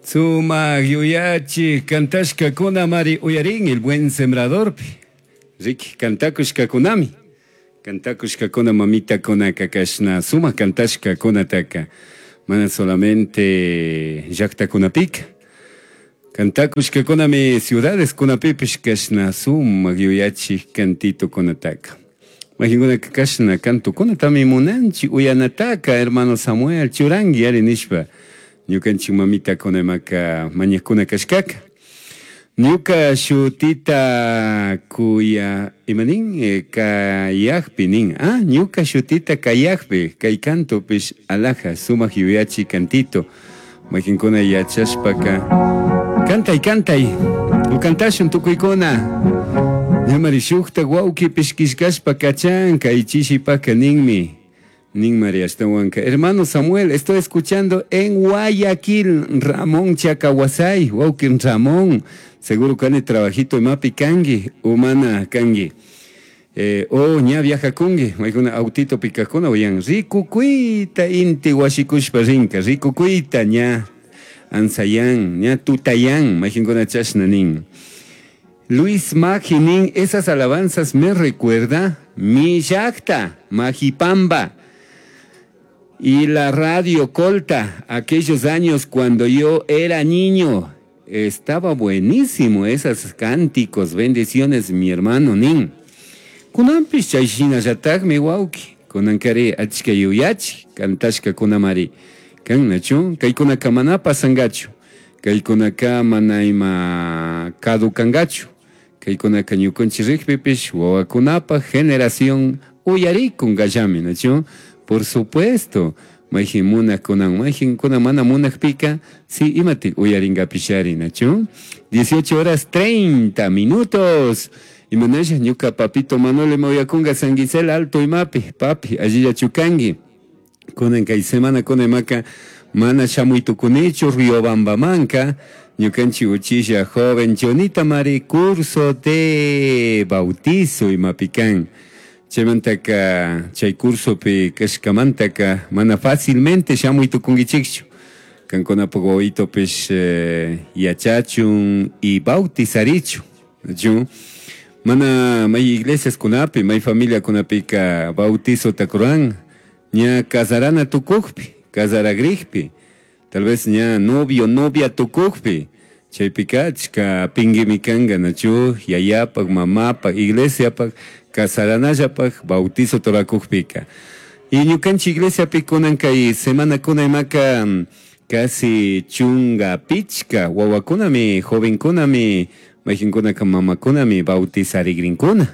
Sumaj yuyachij cantashcacunamari uyarin El Buen Sembradorpi. Riqui, cantacushcacunami. Cantacushcacuna mamitacunaca cashna sumaj cantashcacunataca mana solamente llajtacunapica. Cantacushcacunami ciudadescunapipish cashna sumaj yuyachij cantitocunataca. Mayqinkunaka kashna cantokunatami munanchik uyanataka hermano Samuel churanki ari nishpa ñukanchik mamitakuna imaka mañakuna kashkaka. Ñuka shutita kuya ima nin kayakpi nin ah ñuka shutita kayakpi kay cantopish alaja sumak yuyachi cantito mayqinkuna yachashpaka cantay cantay o cantashun tukuykuna ñamari shukta wawqipish killkashpa kachan kay chishipaka ninmi ninmari ashtawanka hermano Samuel, estoy escuchando en Guayaquil. Ramón Chacahuasay, wawqi Ramón, seguro kani trabajito imapi kanki umana kanki o ña viajakunki maykuna autito pikakuna uyan rikukuyta inti washikushpa rinka rikukuyta ña ansayan ña tutayan mayqinkuna chashna nin. Luis Maggi esas alabanzas me recuerda mi llaqta, Majipamba, y la radio Colta, aquellos años cuando yo era niño. Estaba buenísimo esas cánticos, bendiciones, mi hermano nin. Kunanpish chay shinallatakmi wawqi, kunankari achka yuyachi, cantashkakunamari. Kan nachu, kaykunaka mana pasangachu, kaykunaka mana ima kadukangachu, kaykunaka ñukanchik rikpipish wawakunapaj generación uyarikunkallami, nachu? Por supuesto, mayjin munakkunan, mayjinkuna mana munakpika, si imatik uyarinkapishari, nachu? 18 horas 30 minutos. Imanasha ñuka papito Manuel ima uyakunga San Gisela Alto imapi, papi, allillachu kanki. Kunan kay semana kuna imaka mana shamuy tukunichu Riobambamanka, ñukanchik uchilla joven Chonita mari curso de bautizo imapi kan. Chaymantaka chay cursopi kashkamantaka mana fácilmente shamuy tukunkichikchu. Kankunapak wawitopish yachachun y bautizarichun. Nachu? Mana may iglesiaskunapi, may familiakunapika bautizota ruran ña casarana tukukpi, casaragrikpi, tal vez ña novio, novia tukukpi, chaypika achka pinguimi kanka, nachu? Yayapak, mamapak, iglesiapak, casaranallpak bautizo rurakukpika. Y ñukanchik iglesiapi kunan kay semanakuna imaka casi chunga pichka wawakunami, jovenkunami, mayqinkunaka mamakunami bautizarigrinkuna.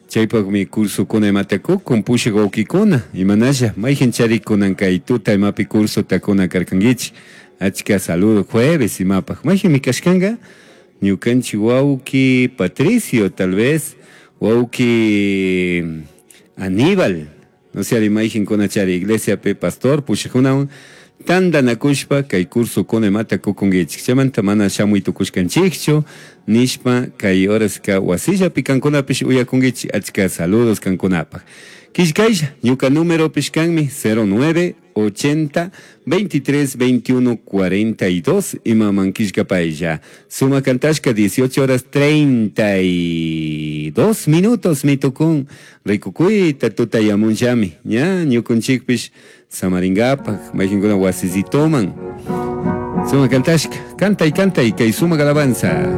Chaypakmi cursokuna imata kukun pushak wawqikuna, imanasha mayqin charikunan kay tuta imapi cursota kuna karkankichik. Achka saludo jueves imapaj. Mayqinmi kashkanka ñukanchik wawqi Patricio tal vez, wawqi Aníbal, no sé ari mayqinkuna chari iglesiapi pastor pushakunawan tantanakushpa kay cursokuna imata kukunkichik. Chaymanta mana shamuy tukushkanchikchu nishpa kay horaska wasillapi kankunapish uyakunkichik achka saludos kankunapaj. Killkaylla ñuka numeropish kanmi 09 80 23 21 42 imaman killkapaylla. Suma kantashka 18 horas 32 minutos mitukun rikukuyta tutayamunllami ña ñukunchikpish samarinkapak mayqinkuna wasisitoman. Suma kantashka, cantay, cantay kay sumak alabanza.